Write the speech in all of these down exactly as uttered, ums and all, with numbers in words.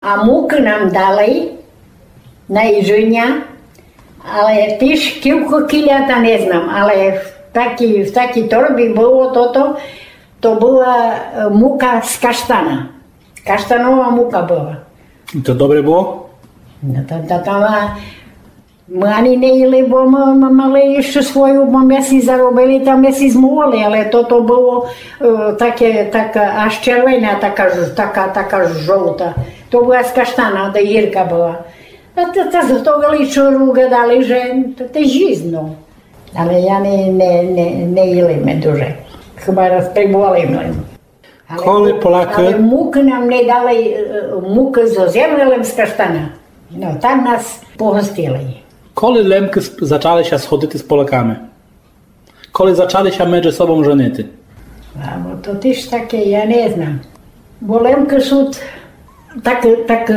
А мукы нам дали на їджыня, але тіж кілько кіля та не знам, але в такій, в такій торбі было тото, то была, е, мука з каштана. Каштанова мука была. І то добре было? Но то, то, то ма-, мы ани не їли, бо мы, мы мали іщы свою, бо мы си заробили, та мы си змололи, але тото было, е, таке, така, аж червена, така ж-, така, така ж-, жовта. То была з каштана, та гірка была. А то, то зготовили, што гадали, же то, то жизно. Але я не, не, не, не їли мы дуже. Хіба раз прибували мы. Але Коли му-, Полякы але мукы нам не дали, е, мукы зо землі, лем з каштана. Но, так нас погостили. Коли Лемкы сп-, зачали ся сходити з Поляками? Коли зачали ся меджі собом женити? А, бо то тіж таке, я не знам. Бо Лемкы сут так, так,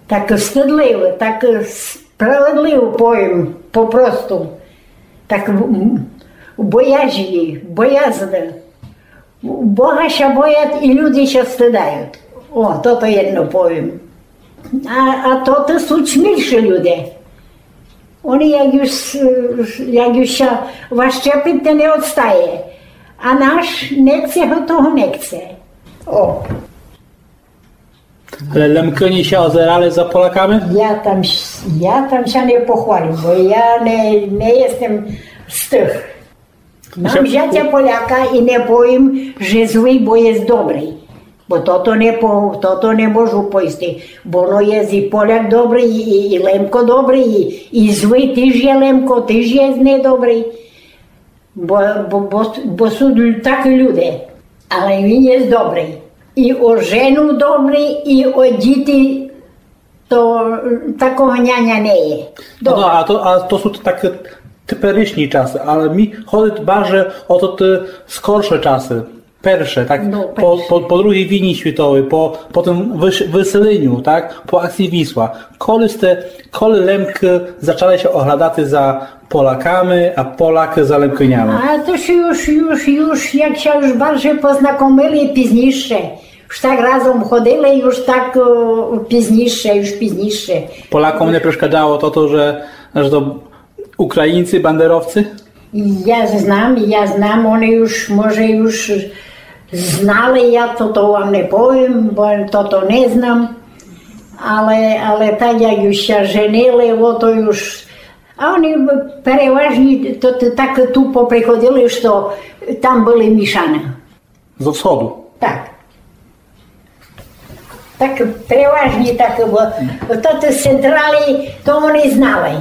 так стыдливы, так справедливы, повім, попросту. Так, м, бояжні, боязны. Бога ся боят і люди ся стыдают. О, тото єдно повім. А, а то, то сут смілші люде. Они як юж, як юж ся ващепит, то не одстає. А наш не хце го, того не хце. О. Але Лемкыні ся озерали за Поляками? Я там, я там ся не похвалю, бо я не, не єстем з тых. Мам зятя Поляка і не повім, же злый, бо єст добрый. Бо тото не по-, тото не можу повісти. Бо но єст і Поляк добрый, і, і, і Лемко добрый, і, і злый тіж є Лемко, тіж єст недобрый. Бо, бо, бо, бо сут лю-, такы люде. Але він єст добрый. І о жену добрый, і о діти то, е, такого няня не є. Но, добрый. А то, а то сут такы теперішні часы, але мі ходит барже о то, е, скорше часы. Перше, так, но, по, перше. По, по другій війні світовій, по, по тым выс-, выселеню, так, по акції Вісла. Коли сте, коли Лемкы зачали ся оглядати за Поляками, а Полякы за Лемкынями? А то ся юж, юж, юж, як ся юж барже познакомили пізніше. Юж так разом ходили, юж так, о, пізніше, юж пізніше. Поляком не перешкаджало то, то, же, же то Українці, бандеровці? Я знам, я знам, они юж, може, юж знали, я тото вам не повім, бо тото не знам. Але, але так, як юж ся женили, о, то юж, а они переважні то, то так ту поприходили, што там были мішаны. Зо всходу? Так. Так переважні так, бо то, то з централі, то они знали.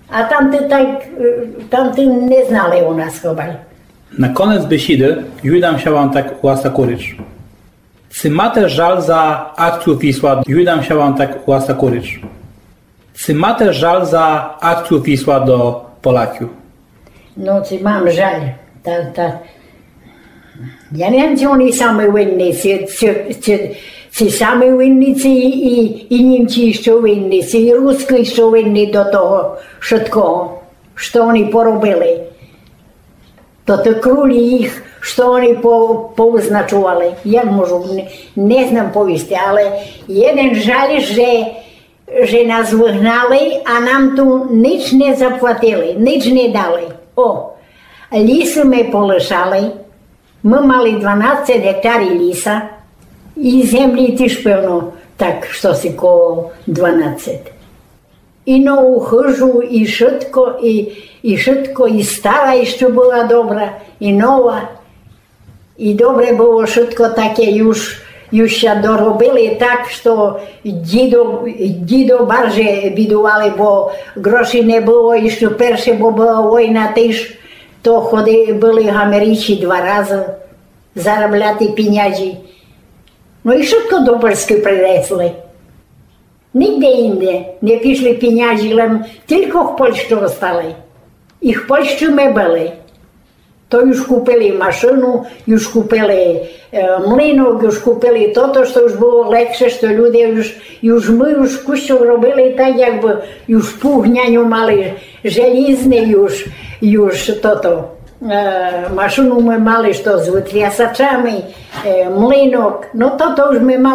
А там то так, е, там то не знали у нас хобай. На конец бесіды юдам ся вам так у вас таку річ. Ци мате жаль за акцію Вісла? Юдам ся вам так у вас таку річ. Ци мате жаль за акцію Вісла до Поляків? Но, ци мам жаль. Та, та, я не вім, ци они самы винні, ци, ци, ци, ци самы винні, ци і, і, і Німці іщы винні, ци і Рускы іщы винні до того вшыткого, што они поробили. То, то крулі їх, што они по-, повызначовали. Як можу, не, не знам повісти, але єден жаль, же же нас выгнали, а нам ту нич не заплатили, нич не дали. О, лісы мы полишали. Мы мали дванадцет гектарів ліса. І землі тіж певно так штоси коло дванадцет. І нову хыжу, і шытко, і, і шытко, і стара іщы была добра, і нова. І добре было шытко таке, юж, юж ся доробили так, што дідо, дідо барже бідували, бо гроші не было, іщы перше, бо была война тіж, то ходи-, были в Америці два разы заробляти пінязі. Но і шытко до Польскы принесли. Нигде інде не пішли пінязі, лем тілько в Польщы остали. І в Польщы мы были. То юж купили машыну, юж купили, е, млинок, юж купили тото, што юж было легше, што люде юж, юж мы юж кусок робили так, якбы юж пугняню мали желізне, юж, юж тото. Е, машину мы мали, што з вытрясачами, е, млинок. Но то, то уж мы мали